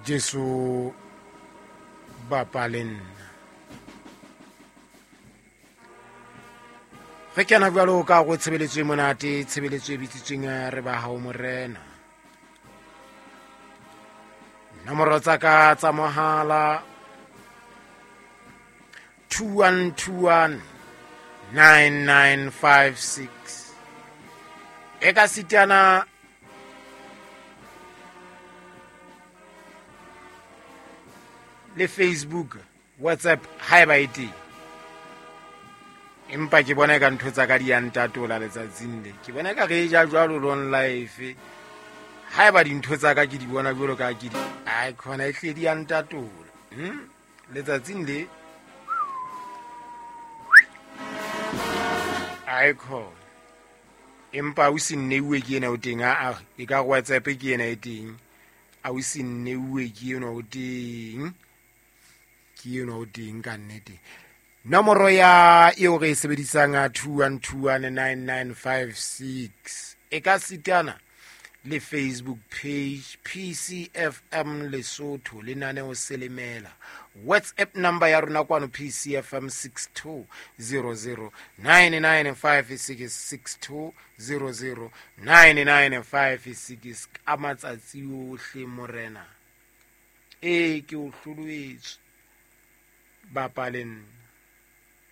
Jesu bapa le nna. Re kena jwalo ka go tshebeletso e monate, tshebeletso e bitsitsweng re ba hao morena. Nomoro tsa ka tsa mohala 2121 9956 e ka sitana le Facebook, WhatsApp haeba e teng. Empa ke bona ka ntho tsa ka di ya ntatola letsatsing le. Ke bona ka re ja jwalo long life. Haeba dintho tsa ka ke di bona jwalo ka ke di ai khona e hle di ya ntatola. Letsatsing le ai khona. Empa o se nneuwe ke ena o teng a e ka WhatsApp ke ena e teng. A o se nneuwe ke ena o teng. Ke ena o teng ka nnete. Nomoro ya eo re e sebedisang a 21219956 e ka sitana le Facebook page PCFM Lesotho lenaneo Selemela. WhatsApp number ya rona kwano PCFM 62009956 62009956 ka matsatsi ohle morena. Ee, ke o hloloetswe. Bapa le nna.